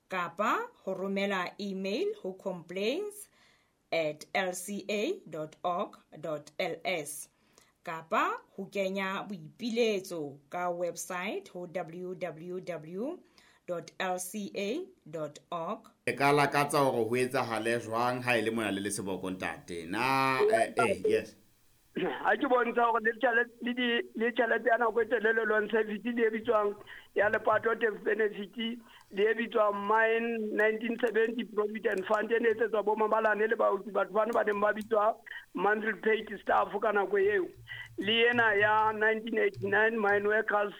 Kapa ho romela email ho complaints@lca.org.ls kapa ho kenya boipiletso ka website ho www.lca.org. Le ka lakatsa hore ho etsahale jwang ha e le mona le le seboko ntate? Na yes. Ha ke bontsha hore le le tjhelete ya nako e telele loan service le e bitswang ya lepato death benefit le e bitswang Mine 1970 Provident Fund e ne etsetswa bo mabalane le baoki, batho bano ba neng ba bitswa monthly paid staff ka nako eo, le ena ya 1989 Mine Workers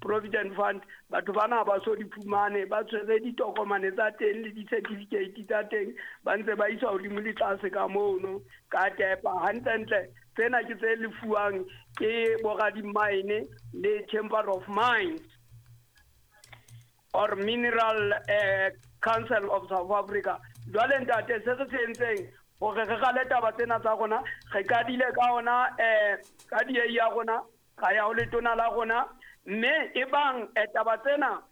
Provident Fund, batho bana ba so di fumane, ba tshwere ditokomane tsa teng le di-certificate tsa teng, ba ntse ba iswa hodimo le tlase ka mono ka tepa. Hantlentle tsena ke tse lefuwang ke boradimaene le Chamber of Mines or Mineral Council of South Africa. Jwale ntate, se re se entseng hore re rale taba tsena tsa rona, re qadile ka ona ka DA ya rona, ra ya ho letona la rona, mme e bang taba tsena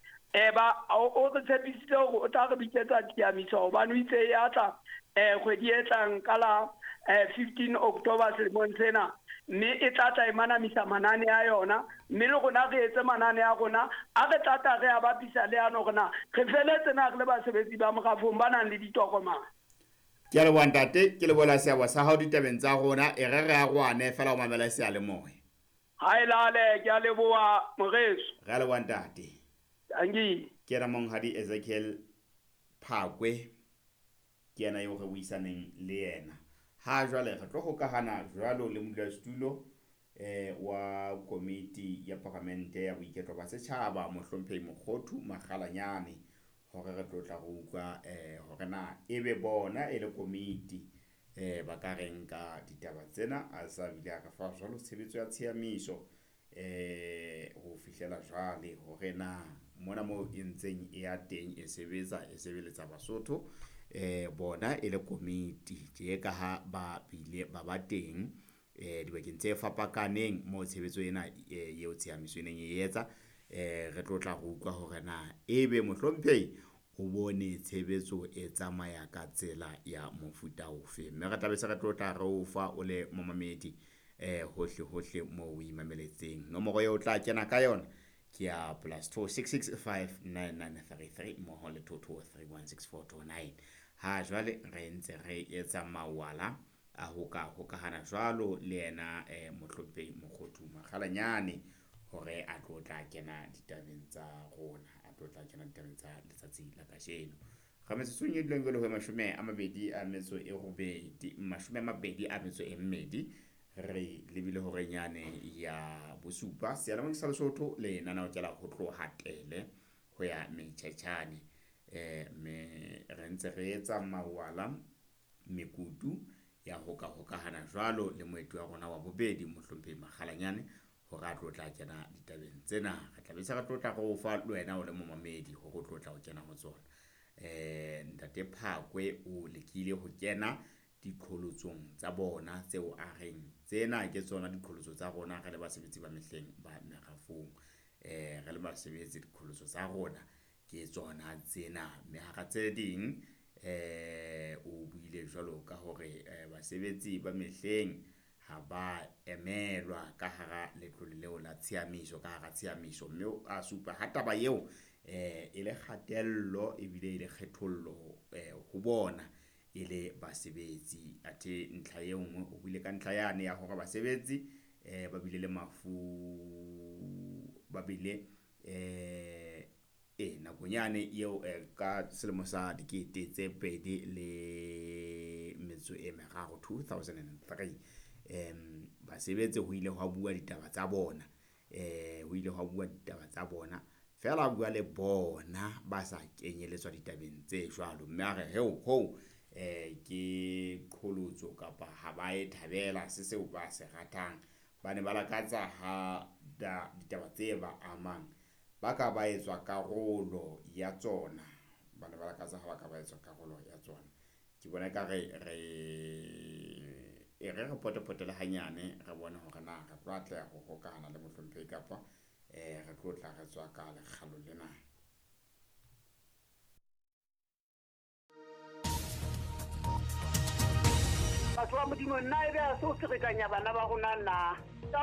ba o re tshepisitse hore o tla re bitsetsa tiamiso, hobane o itse ya tla kgwedi e tlang ka la 15 October selemong sena, mme e tla tla e manamisa manane a yona, mme le rona re etse manane a rona a re tla tla re a bapisa le ano rona re feletse na re le basebetsi ba morafong ba nang le ditokomane. Ke a leboha ntate, ke lebohela seabo sa hao ditabeng tsa rona. E re re arohane fela ho mamela seyalemoya. Ha e lale, ke a leboha moreso. Re a leboha ntate. Tanki. Ke yena monghadi Ezekiel Phakwe, ke yena eo re buisaneng le yena. Ha jwale re tlo hokahana jwalo le modulasetulo wa komiti ya paramente ya boiketlo ba setjhaba, mohlomphehi Mokgothu Makgalanyane, hore re tlo tla re utlwa hore na ebe bona e le komiti ba ka reng ka ditaba tsena. A sa bile a re fa jwalo tshebetso ya tshiamiso ho fihlela jwale, hore na mona moo e ntseng e ya teng e sebetsa e sebeletsa Basotho, bona e le komiti tje ka ha ba bile ba ba teng dibakeng tse fapakaneng moo tshebetso ena eo tshiamiso e neng e etsa. Re tlo tla re utlwa hore na ebe mohlomphehi o bone tshebetso e tsamaya ka tsela ya mofuta ofe, mme re tlabe se re tlo tla re o fa o le momamedi hohle hohle moo o imameletseng. Nomoro eo o tla kena ka yona ke ya +266 59933 mmoho le 22316429. Ha jwale re ntse re etsa mawala a ho ka hokahana jwalo le yena mohlomphehi Mokgothu Makgalanyane, hore a tlo tla kena ditabeng tsa rona, a tlo tla kena ditabeng tsa letsatsi la kajeno. Re metsotsong e dulang jwale ho 28, 22, re lebile horeng yane ya bosupa. Seyalemoya sa Lesotho lenaneo ke la ho tloha tele ho ya metjhetjhane, mme re ntse re etsa mawala mekutu ya ho ka hokahana jwalo le moeti wa rona wa bobedi mohlomphehi Makgalanyane, hore a tlo tla kena ditabeng tsena. Re tla be se re tlo tla re o fa le wena o le momamedi hore o tlo tla o kena ho tsona. Ntate Phakwe o lekile ho kena diqholotsong tsa bona tseo a reng tsena ke tsona diqholotso tsa rona re le basebetsi ba mehleng ba merafong. Re le basebetsi diqholotso tsa rona ke tsona tsena, mme hara tse ding o buile jwalo ka hore basebetsi ba mehleng ha ba emelwa ka hara letlole leo la tshiamiso, ka hara tshiamiso, mme a supa ha taba eo e le kgatello ebile e le kgethollo ho bona e le basebetsi. Athe ntlha e nngwe o buile ka ntlha yane ya hore basebetsi ba bile le mafu, ba bile nakong yane eo ka selemo sa 2003, 2003, basebetsi ho ile hwa bua ditaba tsa bona, ho ile hwa bua ditaba tsa bona feela bua le bona ba sa kenyeletswa ditabeng tse jwalo, mme a re heo ho ke qholotso kapa ha ba e thabela se seo ba se ratang. Ba ne ba lakatsa ha ditaba tse ba amang ba ka ba etswa karolo ya tsona, ba ne ba lakatsa ha ba ka ba etswa karolo ya tsona. Ke bona ekare re e re re potepotele hanyane re bone hore na re tlo atleha ho hokahana le mohlomphehi kapa re tlo tla re tswa ka lekgalo lena. Batho ba Modimo, nna ebe a se o ferekanya bana ba rona na?